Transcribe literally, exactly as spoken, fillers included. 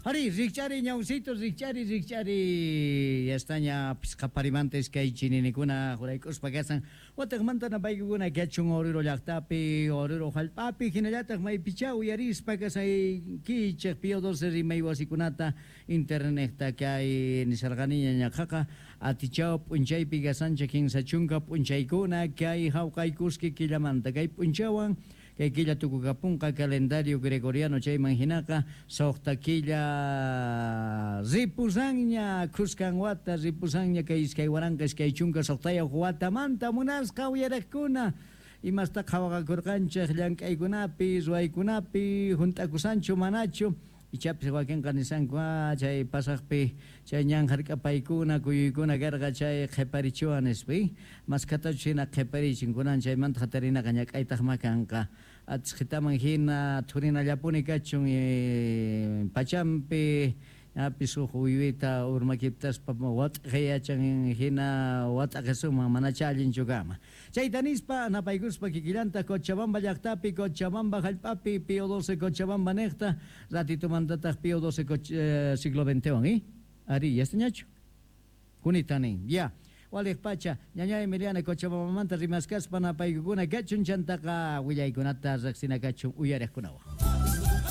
Ari, rikch'ari ñawsito, rikch'ari, rikch'ari. Yastaña pisqaparimanta iskay chininikuna huraykuspa kasan. Wataqmanta napaykukuna kachun Oruro llaqtapi, Oruro hallp'api, hinallataq maypichá uyarispa kasaykichik Pío doce rimay wasikunata internetta kay nisharqaniña ñaqaqa atichaw p'unchaypi kasanchik kinsa chunka p'unchaykuna kay hawqaykuski killamanta kay p'unchawan kay killa tukukapunqa calendario gregoriano chayman hinaqa suqta killa ripusanña khuskan wata ripusanña kay iskay waranqa iskay chunka suqtayuq watamanta munasqa uyariqkuna imasta qhawaqakurqanchik llank'aykunapi ruwaykunapi hunt'akusanchu manachu ichapis wakinqa nisanku chay pasaqpi chay ñan hark'apaykuna kuyuykuna karqa chay qhiparichiwan nispa maskatachu hina qhiparichin kunan chaymanta hatarinaqa ñak'aytaqma kanqa atisqitaman hina thurinallapuni kachun pachampi ñapis huk uywita urmakiptaspa wat'aqiyachan hina wat'aqisuman manacha allinchu kanman chayta nispa napaykuspa kikillanta Cochabamba llaqtapi Cochabamba hallp'api Pío doce Cochabamba niqta ratitumantataq Pío doce siglo veintewan ¿eh? Ari, yastañachu kunita nin ya waliq pacha ñaña Emiliana Cochabambamanta rimaskaspa napaykukuna kachun chantaqa willaykunata riqsina kachun uyariqkunawan.